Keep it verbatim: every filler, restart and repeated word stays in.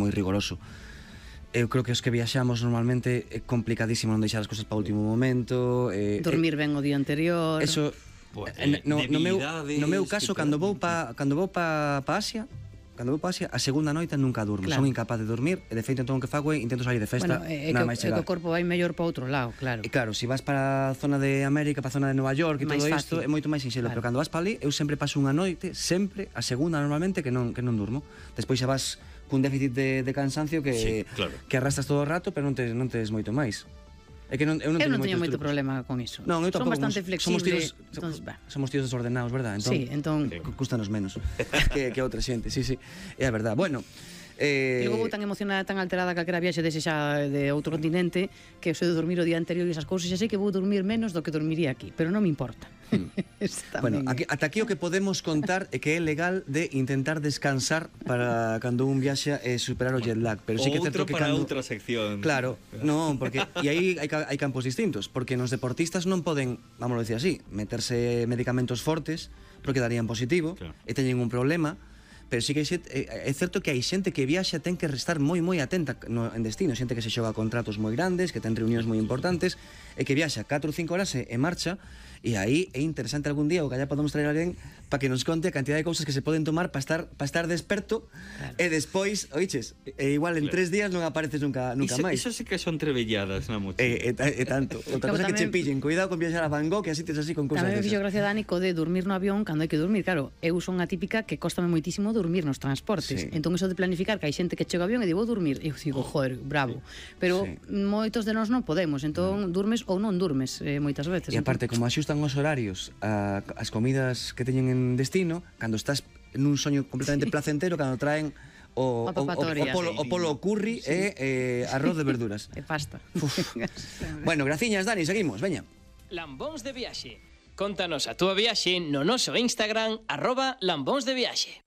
moi rigoroso. Eu creo que os que viaxamos normalmente é complicadísimo non deixar as cousas para o último momento. eh, Dormir ben o día anterior. Eso, Pues, eh, no, no, meu, debilidades no meu caso, que cando te- vou pa, cando vou pa, pa Asia, cando vou pa Asia, a segunda noite nunca durmo. Claro. Son incapaz de dormir, e de feito entón o que fago é intento salir de festa, Bueno, é que, nada o- máis é que chegar. o corpo vai mellor para outro lado, claro. E claro, se vas para a zona de América, para a zona de Nova York e Máis todo isto, fácil. é moito máis sinxelo, Claro. pero cando vas para ali, eu sempre paso unha noite, sempre, a segunda normalmente, que non, que non durmo. Despois xa vas cun déficit de, de cansancio que, Sí, claro. que arrastras todo o rato, pero non tes, non tes moito máis. É que non, eu non Eu teño non teño moitos moito trucos. problema con iso. Non, eu Son tampouco. bastante somos- flexible. Somos tíos, Entonces, bah. somos tíos desordenados, verdad? Entón, Sí, entón- cu- custanos menos que, que outra xente, sí, sí. É a verdad. Bueno, eh, E logo vou tan emocionada, tan alterada calquera viaxe dese xa de outro continente que eu sei de dormir o día anterior e esas cousas, xa sei que vou dormir menos do que dormiría aquí, pero non me importa. Está bueno, ben. aquí, ata aquí o que podemos contar é que é legal de intentar descansar para cando un viaxa e superar o jet lag, pero sí que é certo Outro que para cando outra sección. Claro, non, porque e aí hai, ca- hai campos distintos, porque nos deportistas non poden, vamos a decir así, meterse medicamentos fortes porque darían positivo, Claro. e teñen un problema. Pero sí que hai xente, é, é certo que hai xente que viaxa ten que estar moi moi atenta no, en destino, xente que se xoga contratos moi grandes, que ten reunións moi importantes e que viaxa catro ou cinco horas e, e marcha, e aí é interesante algún día o que allá podemos traer a alguén para que nos conte a cantidad de cousas que se poden tomar para estar para estar desperto, Claro. e despois, oiches, e igual en Claro. tres días non apareces nunca nunca Iso, máis. iso sí que son trebelladas na mochila. E, e, ta- e tanto. Outra Logo cosa que che tamén- pillen, cuidado con viaxar a Van Gogh, que así tes así con cousas Tamén me fixo desas. gracia Dani co de dormir no avión cando hai que dormir. Claro, eu son a típica que cóstame moitísimo dormir nos transportes. Sí. Entón eso de planificar que hai xente que chega ao avión e digo, vou dormir. Eu digo, joder, bravo. Pero Sí. moitos de nós non podemos. Entón durmes ou non durmes eh, moitas veces. E aparte, como axustan os horarios a, as comidas que teñen en destino, cando estás nun soño completamente placentero, cando traen o, o, o, o, papatoria. polo, o polo curry e eh, arroz de verduras. E pasta. Bueno, graciñas, Dani, seguimos, veña. Lambóns de viaxe. Contanos a túa viaxe no noso Instagram arroba lambóns de viaxe.